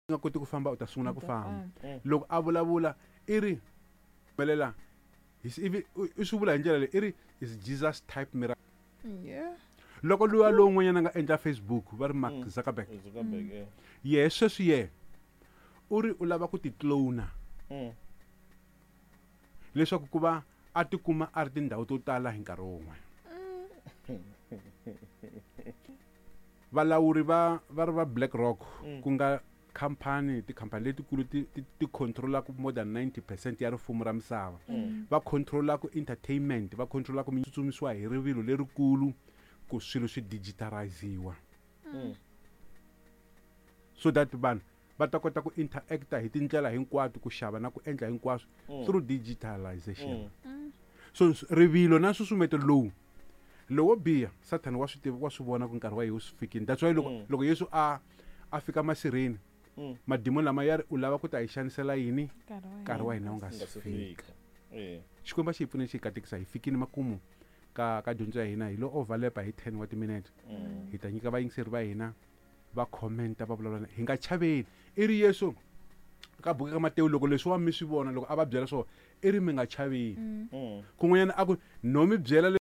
Nga koti ku famba, u ta sungula ku U ta famba. Famba. Loko a vulavula i ri humelela ivi i swi vula hi ndlela leyi, i ri is Jesus type miracle. Loko luya lowun'wanyana a nga endla Facebook, va ri Mark Zuckerberg. Zuckerberg, yeah. Yehe sweswi yehe u ri u lava ku ti clona leswaku ku va a tikuma a ri tindhawu to tala hi nkarhi wun'we. Valawuri va ri va BlackRock, ku nga khampani, tikhampani letikulu ti controlaka more than 90% ya rifumo ra misava, va controlaka entertainment, va controlaka tsutsumisiwa hi rivilo lerikulu ku swilo swi digitaliziwa so that vanhu va ta kota ku interacta hi tindlela hinkwato, ku xava na ku endla hinkwaswo through digitalization. So rivilo na nsusumeto lowu lowo biha, Sathana wa swi tiva, wa swi vona ku nkarhi wa yesu fikini. That's why loko Yesu a fika masirheni, madimoni lama ya ri, "U lava ku ta hi xanisela yini nkarhi wa hina wu nga nga si si fika?" Fika. Eh. Xikwembu a xi hi pfune, xi hi katekisa. Hi fikini makumu ka dyondzo ya hina, hi lo overlapa hi 10 wa timinete. Hi ta nyika vayingiseri va hina va commenta, va vulavula. Hi nga chaveni. I ri Yesu ka buku ka Matewu, loko leswiwa mi swi vona, loko a va byela swona, i ri mi nga chaveni. Kun'wanyana a ku no mi byela.